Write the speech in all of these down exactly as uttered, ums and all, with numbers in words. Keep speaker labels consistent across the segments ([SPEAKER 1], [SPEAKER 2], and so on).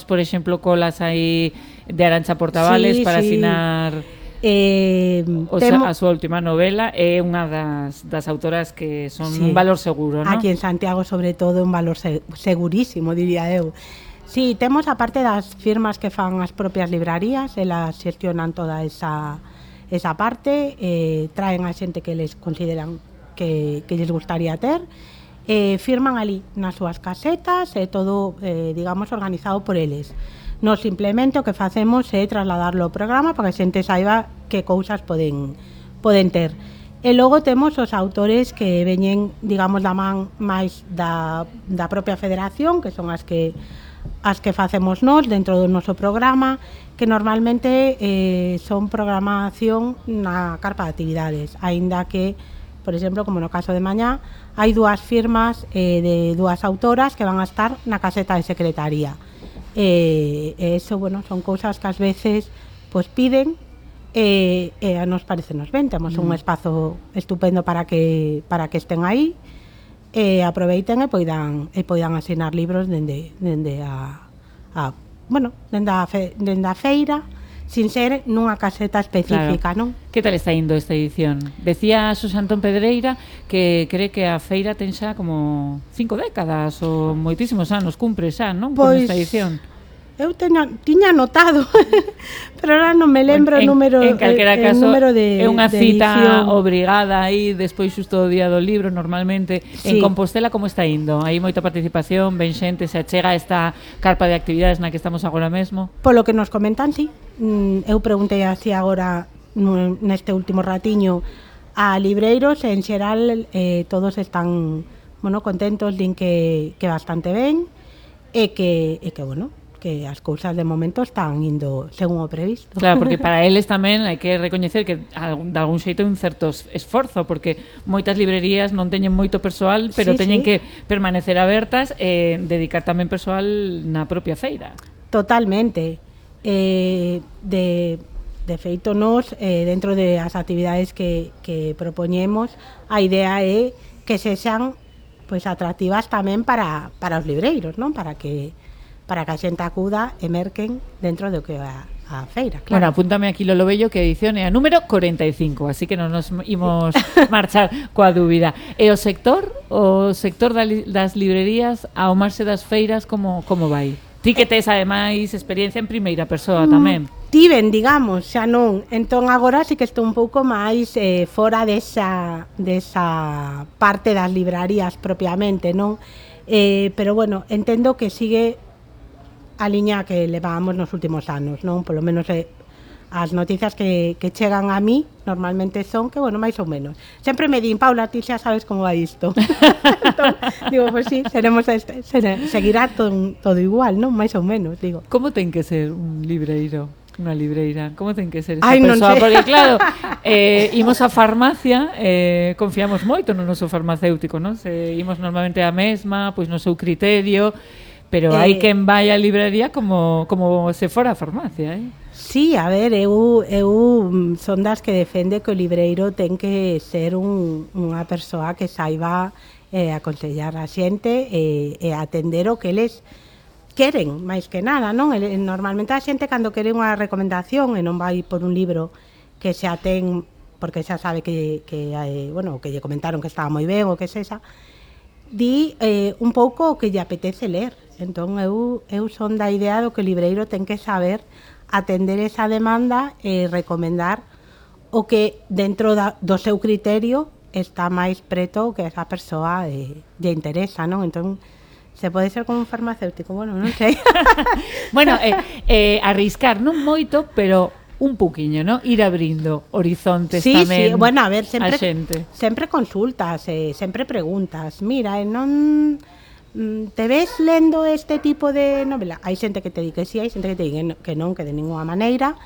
[SPEAKER 1] por exemplo, colas aí de Arantxa Portavales
[SPEAKER 2] Sí,
[SPEAKER 1] para
[SPEAKER 2] sí.
[SPEAKER 1] asinar
[SPEAKER 2] Eh,
[SPEAKER 1] o
[SPEAKER 2] temo-
[SPEAKER 1] sea, a súa última novela. É unha das, das autoras que son
[SPEAKER 2] Sí.
[SPEAKER 1] un valor seguro, non?
[SPEAKER 2] Aquí en Santiago, sobre todo, un valor se- segurísimo, diría eu. Sí, temos aparte das firmas que fan as propias librarías, elas xestionan toda esa, esa parte, eh, traen a xente que les consideran que, que les gustaría ter, eh, firman ali nas súas casetas, e eh, todo, eh, digamos, organizado por eles. Nos simplemente o que facemos é trasladarlo ao programa para que a xente saiba que cousas poden, poden ter. E logo temos os autores que veñen, digamos, da man máis da, da propia federación, que son as que as que facemos nós dentro do noso programa, que normalmente eh, son programación na carpa de actividades, aínda que, por exemplo, como no caso de mañá, hai dúas firmas eh, de dúas autoras que van a estar na caseta de secretaría. E eh, eso, bueno, son cousas que ás veces pues piden e eh, eh, nos parece nos ben, temos mm. un espazo estupendo para que para que estén aí e aproveiten e poidan e poidan asinar libros dende dende a, a bueno, dende a, fe, dende a feira, sin ser nunha caseta específica,
[SPEAKER 1] Claro.
[SPEAKER 2] non?
[SPEAKER 1] Que tal está indo esta edición? Decía Susana Antón Pedreira que cree que a feira ten xa como cinco décadas ou moitísimos anos, cumpre xa, non? Con
[SPEAKER 2] Pois
[SPEAKER 1] esta edición.
[SPEAKER 2] Eu teña, tiña anotado, pero ahora non me lembro
[SPEAKER 1] en,
[SPEAKER 2] o número,
[SPEAKER 1] en calquera
[SPEAKER 2] eh,
[SPEAKER 1] caso,
[SPEAKER 2] número de
[SPEAKER 1] é unha
[SPEAKER 2] de
[SPEAKER 1] cita
[SPEAKER 2] edición.
[SPEAKER 1] obrigada aí despois xusto do día do libro, normalmente.
[SPEAKER 2] Sí.
[SPEAKER 1] En Compostela como está indo? Hai moita participación, ben xente, se achega esta carpa de actividades na que estamos agora mesmo?
[SPEAKER 2] Polo que nos comentan, sí. Eu preguntei así agora neste último ratiño a libreiros, e en xeral eh, todos están, bueno, contentos, din que, que bastante ben, e que, e que bueno, que as cousas de momento están indo según o previsto.
[SPEAKER 1] Claro, porque para eles tamén hai que recoñecer que de algún xeito é un certo esforzo, porque moitas librerías non teñen moito persoal, pero
[SPEAKER 2] sí,
[SPEAKER 1] teñen
[SPEAKER 2] sí.
[SPEAKER 1] que permanecer abertas e dedicar tamén persoal na propia feira.
[SPEAKER 2] Totalmente. Eh, de, de feito, nos, eh, dentro de as actividades que, que propoñemos, a idea é que sexan pois, atractivas tamén para, para os libreiros, non? Para que para que a xente acuda e merquen dentro do que é a, a feira, claro.
[SPEAKER 1] Bueno, apúntame aquí Lolo Bello que a edición é a número corenta e cinco, así que non nos imos marchar coa dúbida. E o sector, o sector das librerías ao marxe das feiras, como, como vai? Ti que tes ademais experiencia en primeira persoa tamén.
[SPEAKER 2] Mm, tiven, digamos, xa non. Entón agora sí que estou un pouco máis eh, fora desa, desa parte das librarías propiamente, non? Eh, pero bueno, entendo que sigue a liña que levábamos nos últimos anos, non? Polo menos eh, as noticias que, que chegan a mí normalmente son que, bueno, máis ou menos. Sempre me din, Paula, ti xa sabes como vai isto. Entón, digo, pois pues sí, seremos este, ser, seguirá todo, todo igual, non? Máis ou menos, digo.
[SPEAKER 1] Como ten que ser un libreiro? Unha libreira, como ten que ser esa
[SPEAKER 2] Ay,
[SPEAKER 1] persoa?
[SPEAKER 2] Non sei.
[SPEAKER 1] Porque claro, eh, imos á farmacia, eh, confiamos moito no noso farmacéutico, non? Se imos normalmente á mesma, pois no seu criterio, pero hai
[SPEAKER 2] eh,
[SPEAKER 1] quen vai á librería como, como se fora a farmacia, eh?
[SPEAKER 2] Sí, a ver, eu, eu son das que defende que o libreiro ten que ser un, unha persoa que saiba eh, aconsellar a xente e, e atender o que eles queren, máis que nada, non? Normalmente a xente cando quere unha recomendación e non vai por un libro que xa ten, porque xa sabe que, que eh, bueno, que lle comentaron que estaba moi ben ou que sexa, di eh, un pouco o que lle apetece ler. Entón eu, eu son da idea do que o libreiro ten que saber atender esa demanda e recomendar o que dentro da, do seu criterio está máis preto que esa persoa eh, lle interesa, non? Entón, se pode ser como un farmacéutico, bueno, non sei.
[SPEAKER 1] Bueno, eh, eh, arriscar non moito, pero un pouquiño, ¿no? Ir abrindo horizontes
[SPEAKER 2] sí,
[SPEAKER 1] tamén.
[SPEAKER 2] Sí, bueno, a ver, sempre,
[SPEAKER 1] a xente.
[SPEAKER 2] sempre consultas, eh, sempre preguntas. Mira, eh, non te ves lendo este tipo de novela? Hai xente que te di que sí, hai xente que te di que non, que de ninguna maneira.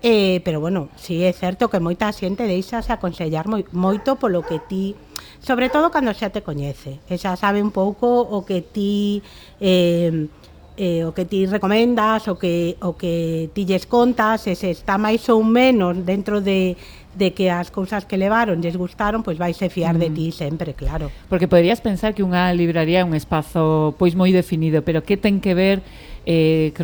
[SPEAKER 2] Eh, pero bueno, sí é certo que moita xente deixase aconsellar moi, moito polo que ti, sobre todo cando xa te coñece, e xa sabe un pouco o que ti eh, eh, o que ti recomendas, o que, o que ti lles contas, e se está máis ou menos dentro de, de que as cousas que levaron lles gustaron, pois vaise fiar mm. de ti sempre, claro.
[SPEAKER 1] Porque poderías pensar que unha libraría é un espazo pois moi definido, pero que ten que ver eh,